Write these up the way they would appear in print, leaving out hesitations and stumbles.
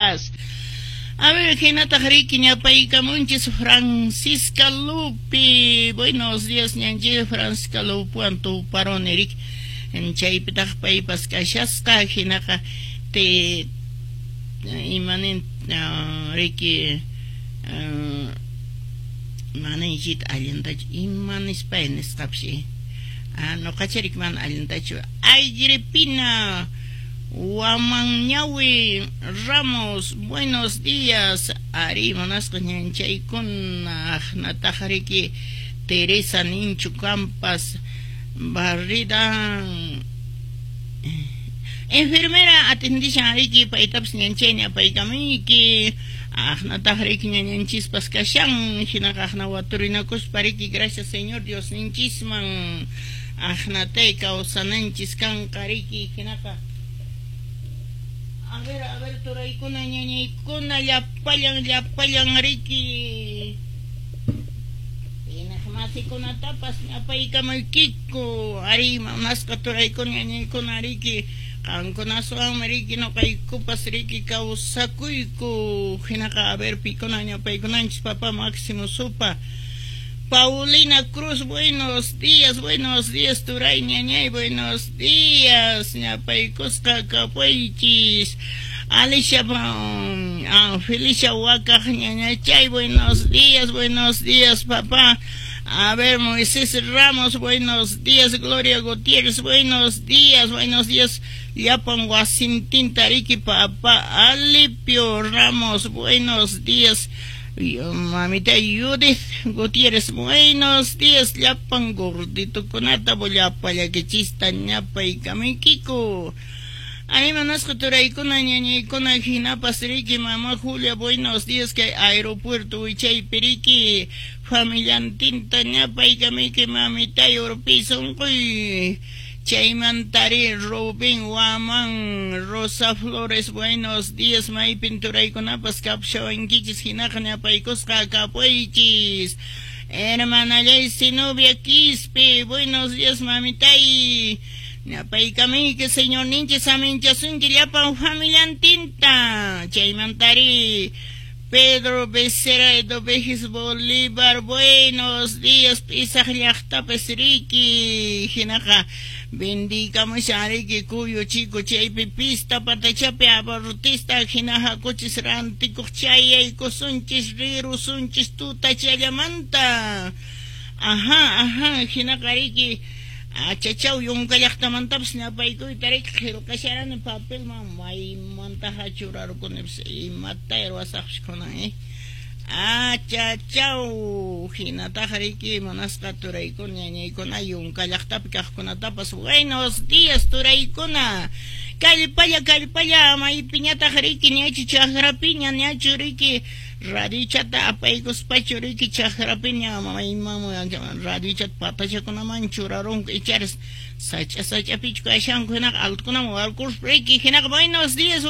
Chaytapas. A ver, hinataq riki ñapaykamunchis Francisca Lupi. Buenos días, ñanchis Francisca Lupuwan tuparuni riki. Chaypitaq paypas kashasqa hinaqa te imanin riki manaychita allintachu ima nispay nisqapshi nuqacharik mana allintachu. Agripina Wamanñawi Ramos, buenos días. Ari munasqa ñanchaykuna aqnataq riki Teresa Ninchu Campas Barrida enfermera atendishan riki paytapas ñanchayni apaykamuyki aqnataq riki ñañanchispas kashan hinaqa aqna waturinakuspa riki gracias Señor Dios ninchisman aqnatay kawsananchis kanqa riki hinaqa. A ver, turaykuna ñañaykuna llapallan llapallan riki masikunatas ñapaykamaykiku ari munasqa turaykuna ñañaykuna riki qankunaswanmi riki nuqaykupas riki kawsakuyku hinaqa a ver pikuna ñapaykunanchis papá Máximo Supa. Paulina Cruz, buenos días, turay ñañay, buenos días, ñapaykusqa kapuychis. Alicia, Felicia Huacaj, ñañachay, buenos días, papá. A ver, Moisés Ramos, buenos días, Gloria Gutiérrez, buenos días, Llapan Wasintinta riki, papá. Alipio Ramos, buenos días. Mamita Judith Gutiérrez, buenos días, llapan gorditokunata bollapallakechista ñapaykamuykiku. Animanasqa turaykuna ñañaykuna hinapas riki mamá Julia, buenos días, kay aeropuerto wichaypi riki familiantinta ñapaykamuyki mamitay urpi sunquy. Chaymantari Rubén Waman, Rosa Flores, buenos días, maypin turaykunapas kapshawankichis hinaqa ñapaykusqa kapuychis. Hermanallay Zenobia Quispe, buenos días, mamitay. Ñapaykamuyki señor ninchis aminchasunki llapan familiantinta. Chaymantari Pedro Becerra Edovejis Bolívar, buenos días, pisaq llaqtapas riki hinaqa bendikamushan riki Cuyo Chico chaypi pista patachapi abarrotista hina hakuchis rantikuq chayaykusunchis rirusunchis tutachallamanta. Ajá, ajá, hinaqa riki achachaw yunka llaqtamantapas ñapaykuyta riki qillqasharani papelman maymantaqa churarukunipas imata ruwasaqpas kunan achachaw hinataqa riki munasqa turaykuna ñañaykuna yunka llaqtapi kaqkunatapas buenos días turaykuna kallpalla kallpalla maypiñataq riki ñachu chakrapiña ñachu riki radiochata apaykuspachu riki chakrapiña mayman radiochata patachakunaman churarunku icharis sacha sachapichu kashanku hinaqa altukunaman warkuruspa riki hinaqa buenos días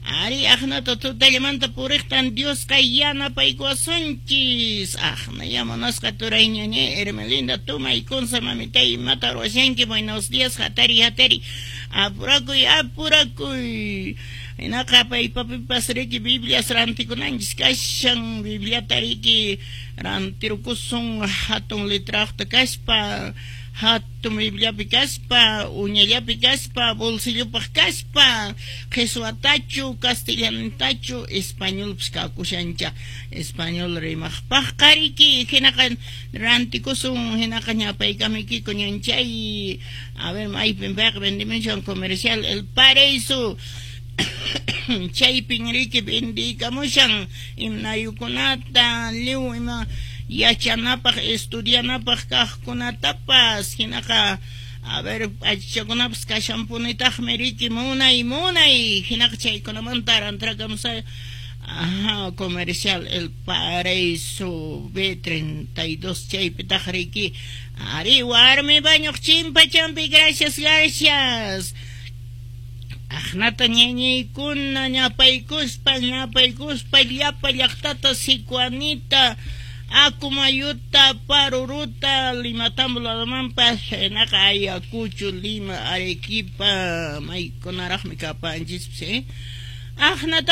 ari aqnata tutallamanta puriqtan Diosqa yanapaykuwasunchis aqna yamanasqa turay ñañay Hermelinda Tumay Kunsa mamitay imata ruwashanki buenos días hatari hatari apurakuy apurakuy hinaqa paypapipas riki Biblias rantikunanchis kashan Bibliata riki rantirukusun hatun letraqta kaspa hatun Bibliapi kaspa uñallapi kaspa bolsillopaq kaspa qheswatachu castellantachu españolpas kakushancha español rimaqpaqqa riki hinaqa rantikusun hinaqa ñapaykamuykiku ñanchay a ver maypin payqa vendimushan comercial El Paraíso chaypin riki vendikamushan imnayukunata liw ima yachanapaq estudianapaq kaqkunatapas hinaqa a ver achakunapas kashanpunitaqmi riki munay munay hinaqa chaykunamanta rantrakamusay. Ajá, comercial El Paraíso B32 chaypitaq riki ari warmi bañuq chimpachampi gracias gracias. Aqnata ñañaykuna ñapaykuspa ñapaykuspa llapa llaqtata Sicuanita Akumayuta Paruruta Limatambo ladamanpas hinaqa Ayacucho Lima Arequipa maykunaraqmi kapanchispas. Aqnata